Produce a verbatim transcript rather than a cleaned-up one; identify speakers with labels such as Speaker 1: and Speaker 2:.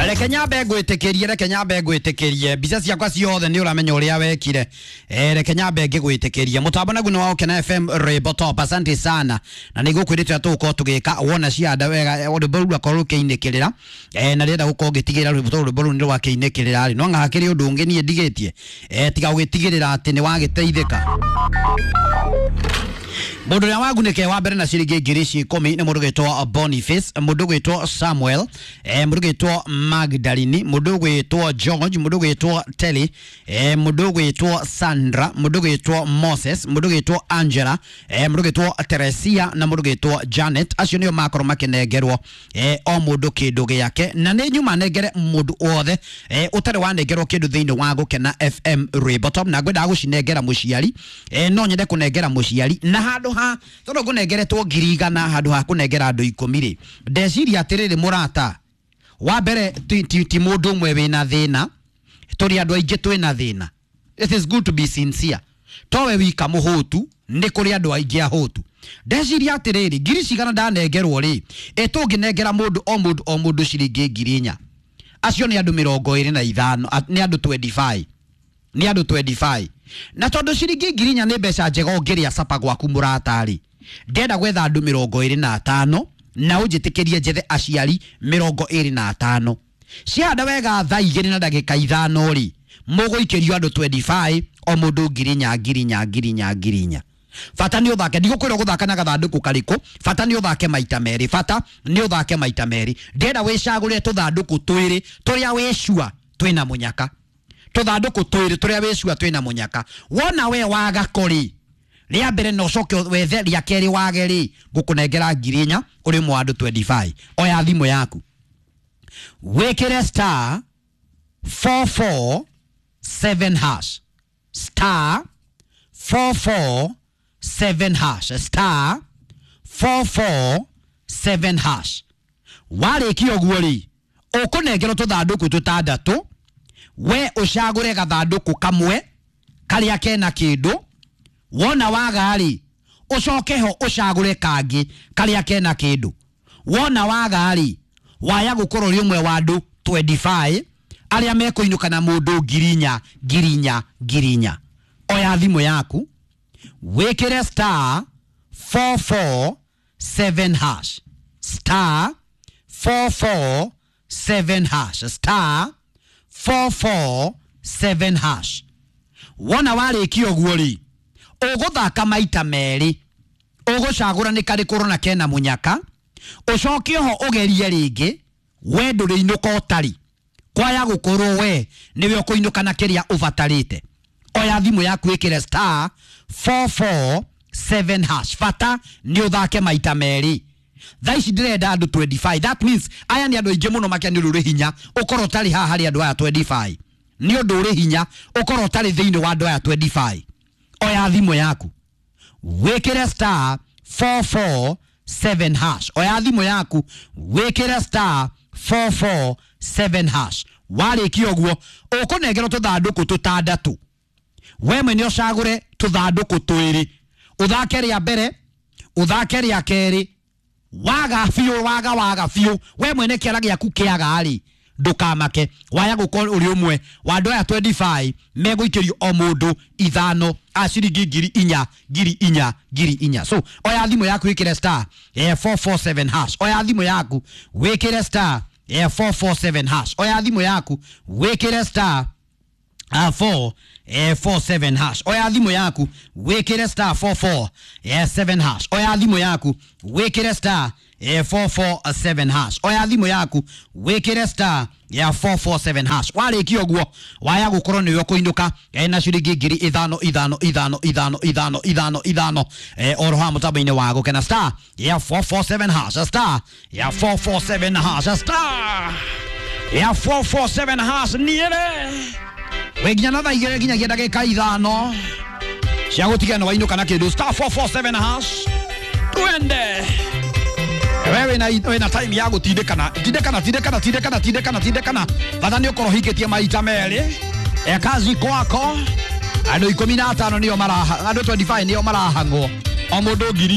Speaker 1: Reke nyambe ngwĩtĩkĩrie, reke nyambe ngwĩtĩkĩrie mbica ciakwa ciothe nĩ ũramenya ũrĩa wekire. Eh, reke nyambe ngĩgwĩtĩkĩrie mũtambo naguo nĩ wa Gũkena F M Rwĩmbo Top. Asante sana, na nĩ ngũkwĩrĩte ũrĩa tũgũkorwo tũgĩka wona cianda wega rwĩmbo rũu rwakorwo rũkĩinĩkĩrĩra. Eh, na rĩenda gũkorwo ngĩtigĩrĩra rwĩmbo tondũ rwĩmbo rũu nĩ rwakĩinĩkĩrĩra rĩ, no anga hakĩrĩ ũndũ ũngĩ niĩ ndigĩtie. Eh, tiga gũgĩtigĩrĩra atĩ nĩ wagĩteithĩka. Mũndũ ũrĩa wagunĩke wa mbere na ciringi ngiri ici ikũmi nĩ mũndũ ũgwĩtwo Boniface, mũndũ ũgwĩtwo Samuel, eh, mũndũ ũgwĩtwo Magdalene, mũndũ ũgwĩtwo George, mũndũ ũgwĩtwo Telly, eh, mũndũ ũgwĩtwo Sandra, mũndũ ũgwĩtwo Moses, mũndũ ũgwĩtwo Angela, eh, mũndũ ũgwĩtwo Teresia na mũndũ ũgwĩtwo Janet. Acio nĩo makorwo makĩnengerwo, eh, o mũndũ kĩndũ gĩake, na nĩ nyuma nengere mũndũ wothe, eh, ũtarĩ wanengerwo kĩndũ thĩinĩ wa Gũkena F M Rwĩmbo Top, na ngwendaga gũcinengera mũciari, eh, no nyende kũnengera mũciari na handũ ha tondũ ngũnengeretwo ngiri igana handũ ha kũnengera andũ ikũmi rĩ, ndeciria atĩrĩrĩ mũrata, wa mbere ti, ti, ti mũndũ ũmwe wĩna thĩna, tũrĩ andũ aingĩ twĩna thĩna. It is good to be sincere. Towe wika mũhũtu, nĩ kũrĩ andũ aingĩ ahũtu. Ndeciria atĩrĩrĩ, ngiri cigana ndanengerwo rĩ, ĩ tũngĩnengera mũndũ o mũndũ o mũndũ ciringi ngiri inya, acio nĩ andũ mĩrongo ĩrĩ na ithano, nĩ andũ twenty-five, nĩ andũ twenty-five. Na tondũ ciringi ngiri inya nĩ mbeca njega ũngĩrĩa capa gwaku mũrata-rĩ, ndĩrenda gwetha andũ mĩrongo ĩrĩ na atano na ũnjĩtĩkĩrie njethe aciari mĩrongo ĩrĩ na atano. Ciahanda wega thaa igĩrĩ na ndagĩka ithano rĩ, mũgũikĩrio andũ twenty-five, o mũndũ ngiri inya, ngiri inya, ngiri inya, ngiri inya. Bata nĩ ũthake, ndigũkwĩra ũgũthaka na gathandũkũ karĩkũ, bata nĩ ũthake maita merĩ, bata nĩ ũthake maita merĩ. Ndĩrenda wĩcagũre tũthandũkũ twĩrĩ tũrĩa wĩcua twĩna mũnyaka, tũthandũkũ twĩrĩ tũrĩa wĩcua twĩna mũnyaka. Wona we waga kori rĩa mbere na ũcoke wethe rĩa kerĩ wage rĩ, ngũkũnengera ngiri inya ũrĩ ũmwe wa andũ twenty-five. Oya thimũ yaku wĩkĩre star four four seven hash, star four four seven hash, star four four seven hash. Warĩkia ũguo rĩ, ũkũnengerwo tũthandũkũ tũtandatũ, we ũcagũre gathandũkũ kamwe karĩa kena kĩndũ. Wona waga rĩ, ũcoke ho ũcagũre kangĩ karĩa kena kĩndũ. Wona waga rĩ, waya gũkorwo ũrĩ ũmwe wa andũ twenty-five arĩa mekũinũka na mũndũ ngiri inya, ngiri inya, ngiri inya. Oya thimũ yaku wĩkĩre star four four seven hash, star four four seven hash, star four four seven hash. Wona warĩkia ũguo rĩ, ũgũthaka maita merĩ, ũgũcagũra nĩ karĩkũ ũrona kena mũnyaka, ũcoke ho ũgerie rĩngĩ, we ndũrĩinũka ũtarĩ, kwaya gũkorwo we nĩwe ũkũinũka na kĩrĩa ũbatarĩte. Oya thimũ yaku wĩkĩre star four four seven hash. Bata nĩ ũthake maita merĩ. Thaa ici ndĩrenda andũ twenty-five. That means aya nĩ andũ aingĩ mũno makĩria nĩ ũndũ ũrĩ hinya ũkorwo ũtarĩ haha harĩ andũ aya twenty-five. Nĩ ũndũ ũrĩ hinya ũkorwo ũtarĩ thĩinĩ wa andũ aya twenty-five. Oya thimũ yaku wĩkĩre star four four seven hash. Oya thimũ yaku wĩkĩre star four four seven hash. Warĩkia ũguo ũkũnengerwo tũthandũkũ tũtandatũ, we mwene ũcagũre tũthandũkũ twĩrĩ, ũthake rĩa mbere, ũthake rĩa kerĩ, waga biũ, waga, waga biũ, we mwene kĩara gĩaku kĩaga rĩ, ndũkamake, waya gũkorwo ũrĩ ũmwe wa andũ aya twenty-five megũikĩrio o mũndũ ithano a ciringi ngiri inya, ngiri inya, ngiri inya. So oya thimũ yaku wĩkĩre star, eh, four four seven hash. Oya thimũ yaku wĩkĩre star, eh, four four seven hash. Oya thimũ yaku wĩkĩre star, uh, four, eh, four seven hash. Oya thimũ yaku wĩkĩre star four four, eh, seven hash. Oya thimũ yaku wĩkĩre star, eh, four four seven hash. Oya thimũ yaku wĩkĩre star ya four four seven hash. Warĩkia ũguo waya gũkorwo nĩwe ũkũinũka, eh, na ciringi ngiri ithano, ithano, ithano, ithano, ithano, ithano, ithano, eh, oro haha mũtambo-inĩ wa Gũkena. Star ya four four seven hash, star ya four four seven hash, star ya four four seven hash. Niere we nginya na thaa igĩrĩ nginyagia ndagĩka ithano cia gũtigana na wainũka na kĩndũ. Star four four seven hash. Twende. Wewe na wĩna time ya gũtindĩkana, tindĩkana, tindĩkana, tindĩkana, tindĩkana, tindĩkana. Bata nĩ ũkorwo ũhingĩtie maita merĩ. E kazi kwako. Andũ ikũmi na atano nĩo maraha, andũ twenty-five nĩo marahang'wo. O mũndũ ngiri